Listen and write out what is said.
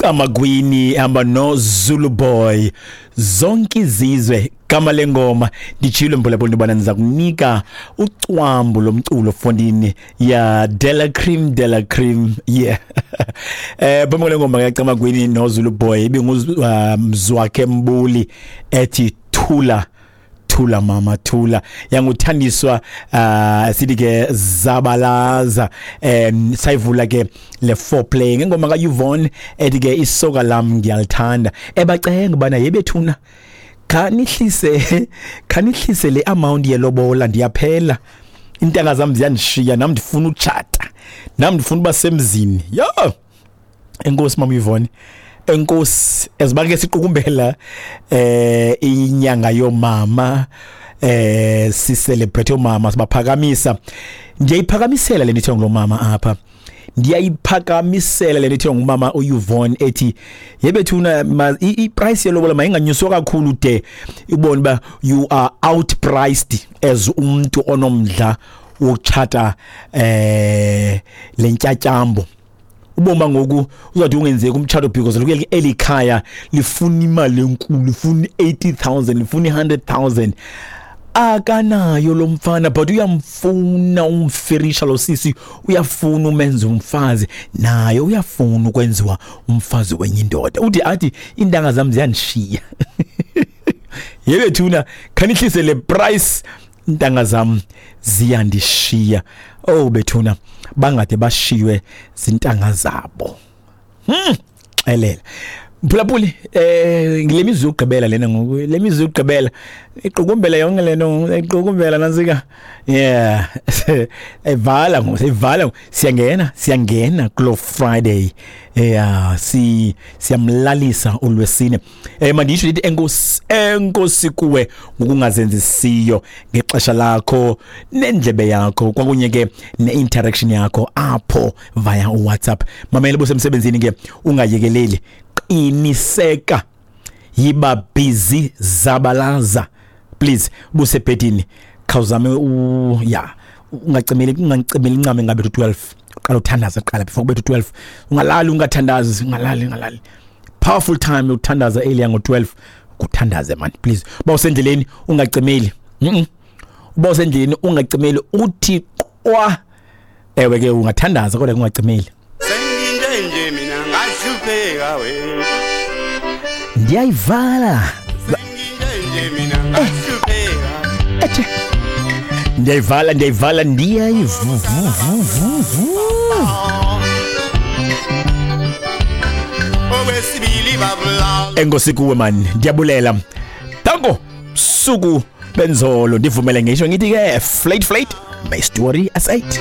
Camagwini hamba no Zulu Boy, zonke izizwe gama lengoma. Nditshilo mphulaphuli intobana ndiza kunika ucwambu lomculo fondini ya Della Cream, Della Cream, yeah. Phambi kwale ngoma kaCamagwini noZulu Boy ibingumzwakhe Mbuli ethi Thula Thula Mama Thula, yanguthandiswa sithi ke zabalaza. Sayivula ke le foreplay ngengoma kaYvonne ethi ke isoka lam ngiyalithanda, ebacenga bana yebethuna khanihlise, khanihlise le amount yelobola, ndiyaphela, intanga zam ziyandishiya, nam ndifuna utshata, nam ndifuna uba semzini. Yo, enkosi mama Yvonne, enkosi. Eziba ke siqukumbela inyanga yomama, si celebrate omama, sibaphakamisa. Ndiyayiphakamisela le nto ngulomama apha, ndiyayiphakamisela le nto ngumama uYvonne ethi yebethuna i-price yelobola mayinganyuswa kakhulu de ubone uba you are outpriced as umuntu onomdla wokutshata lentyatyambo. Uboma ngoku uzawuthi ungenzeki umtshato because lokhu eli khaya lifuna imali enkulu, lifuna 80,000, lifuna 100,000. Akanayo lo mfana, but uyamfuna umfirisha lo sisi, uyafuna umenza umfazi, naye uyafuna ukwenziwa umfazi wenye indoda. Uthi athi iintanga zam ziyandishiya, yebethuna khanihlise le price, intanga zam ziyandishiya. Oh bethuna, bangade bashiywe zintanga zabo. Xelela mphulaphuli, ngile mizuzu yokugqibela lena ngoku, le mizuzu yokugqibela iqukumbela yonke lento, iqukumbela nantsika. Yeah, evala ngoku, seyivala, siyangena, siyangena kulo Friday. Yeah, si siyamlalisa ulwesine. Mandisho ndithi enkosi, enkosi kuwe ngokungazenzisiyo ngexesha lakho nendlebe yakho kwakunye ke ne-interaction yakho apho via WhatsApp. Mamela busemsebenzini ke, ungayekeleli, qiniseka, yiba busy, zabalaza please. Busebhedini khawuzame ya ungacimeli, ungacimeli incame ngabe 12, uqala uthandaza qala before kube 12, ungalali ungathandazi, ungalali, ungalali. Powerful time yokuthandaza earlier ngo12, kuthandaze man please. Uba usendleleni ungacimeli, uba usendleleni ungacimeli, uthi qwa. Ewe ke ungathandaza kodwa ungacimeli. Senginje nje mina ngahlupheka we. Ndiyayivala. Senginje nje mina ngahlupheka. Ethe. Ndiyayivala, ndiyayivala, ndiyayivuvuvuvu. Okwesibili babula. Enkosi kuwe man, ndiyabulela. Danko suku benzolo, ndivumele ngisho ngithi ke flate flate, my story aside.